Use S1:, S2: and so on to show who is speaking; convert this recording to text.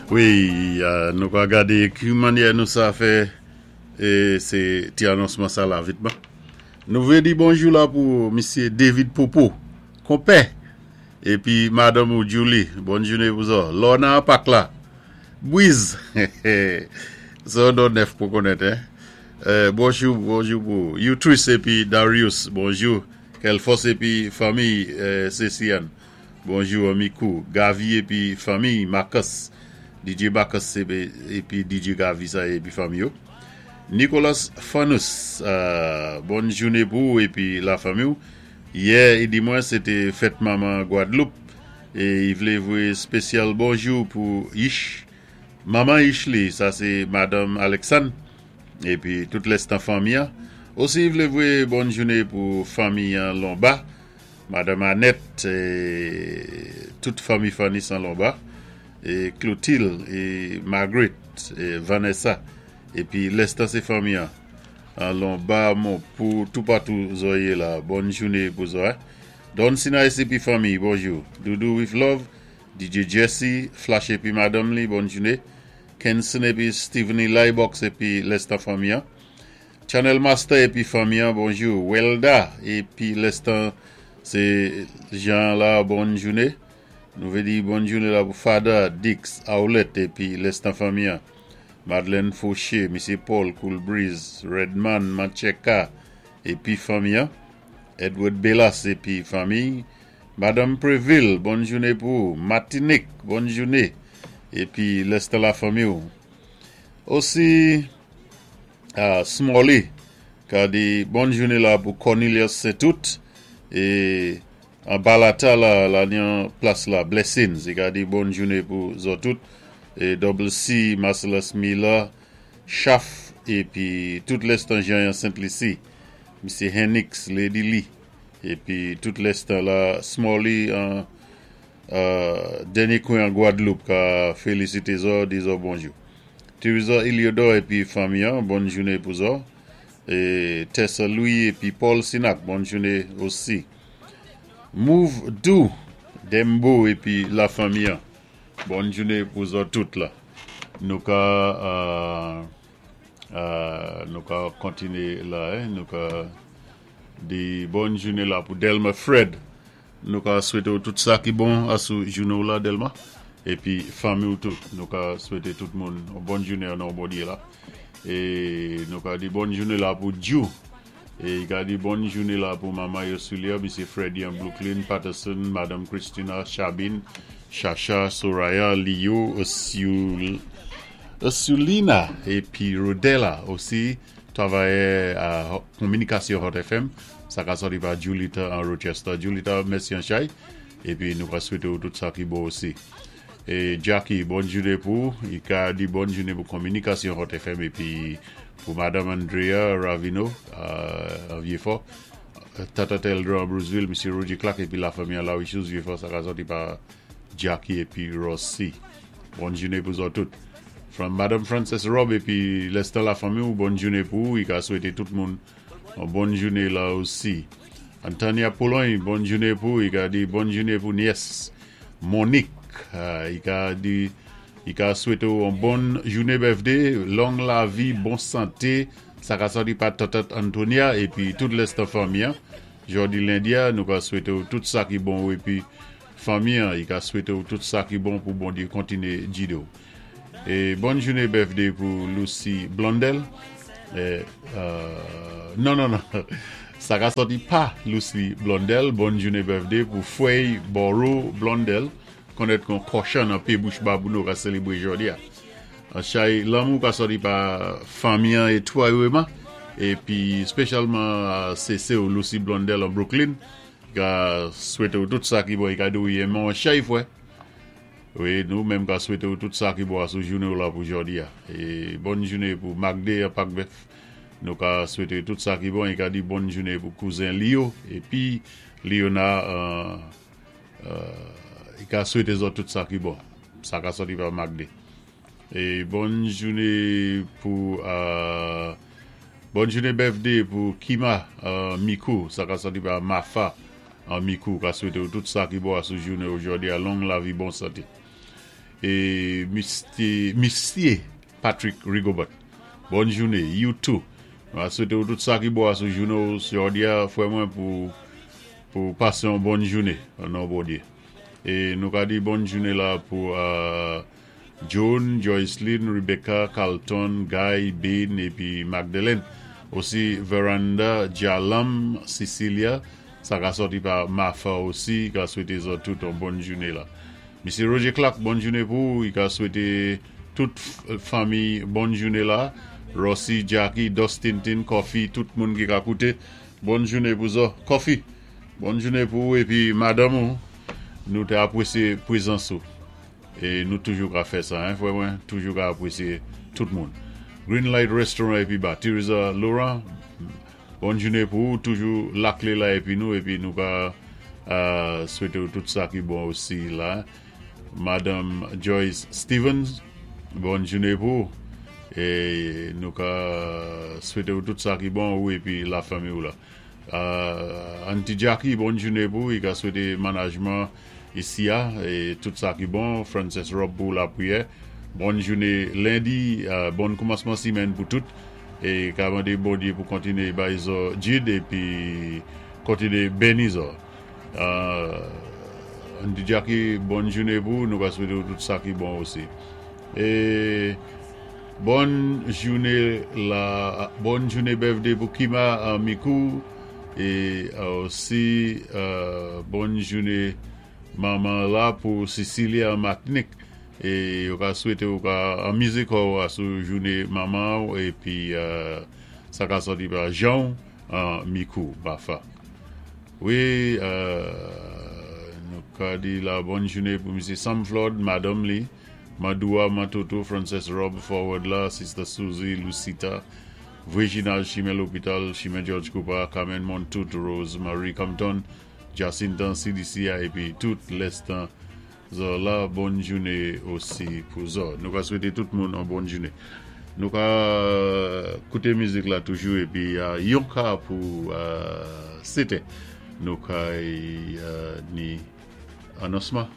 S1: Wi, nou ka gadé ki mannyè nou sa fè é sé ti anonsman sa la vitman. Nou vlé di bonjou la pou misyé David Popo, konpè, épi madanm ou Julie, bòn jouné pou zò. Lorna an pak la. Bwiz! Se yon non nèf pou konèt hein. Bonjou, bonjou pou ou. Youtris épi Darius, bonjou. Kelfòs épi fanmiy Cecianne. Bonjou Mikou, Gavi epi fanmiy Marcus, DJ Marcus epi DJ Gavi sa epi fanmi yo. Nicolas Fanus bòn joune pou ou epi la fanmi w. Yè i di mwen se te fèt manman Gwadloup e i vle voye spesyal bonjou pou Yich manman Yichley sa se madanm Alexanne epi tout lèstan fanmi an. Osi i vle voye bòn joune pou fanmi an Lonba. Madanm Anèt e tout fanmi Fanny Sanlonba e Clotilde e Margaret e Vanessa epi lèstan se fanmi an an Lonba Monpou toupatou zò ye la bòn joune pou zò Don Sinayis epi fanmi bonjou Doudou with love DJ Jesse Flash epi madanm li bòn joune Kenson epi Steveny Laybox epi lèstan fanmi an. Channel master epi fanmi an bonjou welda epi lèstan se jan la bòn joune nou vle di bòn joune la pou fada dix aulette epi lèstan fanmi an madeleine fauché misye paul cool breeze redman mancheka epi fanmi an edward belas epi fanmiy madanm previl bòn joune pou ou matinik bòn joune epi lèstan la fanmiw osi. Smalley ka di bòn joune la pou Cornelius Saintout e an Balata la la ni an plas la Blessings i ka di bòn joune pou zò tout e Double C Marcellus Miller Chaf epi tout lèstan Jean yan Sent Lisi Misye Hennix Lady Lee epi tout lèstan la Smalley an dènye kwen an Gwadloup ka felisite zò di zò bonjou. Theresa Eliodor epi fanmi an bòn joune pou zò e Tessa Louis epi Paul Sinac bòn joune osi Move Dou Dembo epi la fanmi an bòn joune pou zò tout la nou ka nou ka kontine la nou ka di bòn joune la pou Delma Fred. Nou ka swete w tout sa ki bon asou jounen w la Delma epi fanmi w tou. Nou ka swete tout moun yon bòn jounen an non Bondye la. E nou ka di bòn jounen la pou Djou. E ka di bòn jounen la pou manman Yosulia, Misye Freddy an Brooklyn, Patterson, Madanm Christina, Chabine, Chacha, Soraya, Lio, Ursulina epi Rodela osi travayè kominikasyon Hot FM. Sa ka sòti pa Julita an Rochester. Julita, mèsi an chay. Epi nou ka swete ou tout sa ki bon osi. E Jackie, bòn joune pou ou. I ka di bòn joune pou kominikasyon Hot FM epi pou Madam Andrea Ravino an Vyefò, Tata Teldra an Bruceville, Misye Roger Clark epi lafanmi an Larichouse Vyefò. Sa ka sòti pa Jackie epi Rossy. Bòn joune pou zòt tout. From Madam Frances Rob epi lèstan lafanmi ou, bòn joune pou ou. I ka swete tout moun Yon bòn joune la osi. Antania Pologne bòn joune pou ou i ka di bòn joune pou nyès Monique i ka di i ka swete w yon bòn joune birthday long lavi bon sante sa ka sòti pa tantant Antonia epi tout lèstan fanmi an jòdi lendi a nou ka swete w tout sa ki bon epi fanmi an i ka swete w tout sa ki bon pou Bondye kontinye gide w. E bòn joune birthday pou Lucie Blondel non non non sa ka sòti pa Lucie Blondel bòn joune birthday pou Frey Boro Blondel konèt kon kòchan nan pe bouch babouno ka selebre jodi a chay lanmou ka sòti pa fanmi an e twayeman epi spesyalman sese ou Lucie Blondel an Brooklyn ka swete ou tout sa ki bon e ka di ou renmen w chay fwè. Wi nou menm ka swete w tout sa ki bon asou jounen w la pou jòdi a. E bòn joune pou Magde an Pak Bèf. Nou ka swete tout sa ki bon e ka di bòn joune pou kouzen Lio epi Liona an e ka swete zòt tout sa ki bon. Sa ka sòti pa Magde. E bòn joune pou bòn joune bèfde pou Kima an Mikou. Sa ka sòti pa Mafa An Mikou ka swete w tout sa ki bon asou jounen ojòdi a long lavi bon sante. É Misté Misyé Patrick Rigobert bòn jouné you tou. Nou a swété ou tout sa ki bon asou jouné ou jòdi a frè mwen pou pou pasé yon bòn jouné nan non Bondyé. É nou ka di bòn jouné la pou Joan, Joyceline, Rebecca, Carlton, Guy, Bean épi Magdeleine. Osi Veranda, Jalam, Cecilia, sa ka sòti pa Martha osi ka swété zòt tout yon bòn jouné la. Misye Roger Clark bòn joune pou ou, i ka swete tout fanmi bòn joune la, Rossy, Jacky, Dustin Tin, Coffee, tout moun ki ka koute, bòn joune pou zò, Coffee, bòn joune pou ou epi madanm ou, nou te apresye prezans ou, e nou toujou ka fè sa hein frè mwen, toujou ka apresye tout moun. Green Light Restaurant epi ba Theresa Laurent, Bòn jounen pou ou toujou lakle la epi nou epi nou ka swete ou tout sa ki bon osi la Madanm Joyce Stevens bòn jounen pou ou e nou ka swete ou tout sa ki bon ou epi la fanmi ou la Aunty Jackie bòn jounen pou ou i ka swete manajman Isi a, tout sa ki bon, Frances Rob pou lapriyè. Bòn joune lendi, bòn koumansman simèn pou tout. E ka mande Bondye pou kontinye bay zò Jid epi kontinye beni zò. Aunty Jackie, bòn joune pou ou, nou ka swete ou tout sa ki bon osi. E bòn joune la, bòn joune birthday pou Kima Mikou. E osi bòn joune manman la pou Cecilia an Matnik e yo ka swete ou ka anmize kòw asou joune manman ou epi sa ka sòti pa janw an mikou bafa wi nou ka di la bòn joune pou misye Sam Flood madanm li Madoua Mantoto Frances Rob forward la sister Suzy Lucita Reginald Chimen Lopital, Chimen Jòj Koupa, Carmen Montout, Rose Marie Compton, Jacintan CDC a epi tout lèstan zò la bòn joune osi pou zò. Nou ka swete tout moun on bòn joune. Nou ka koute mizik la toujou epi yon ka pou setè nou kay ni anonsman.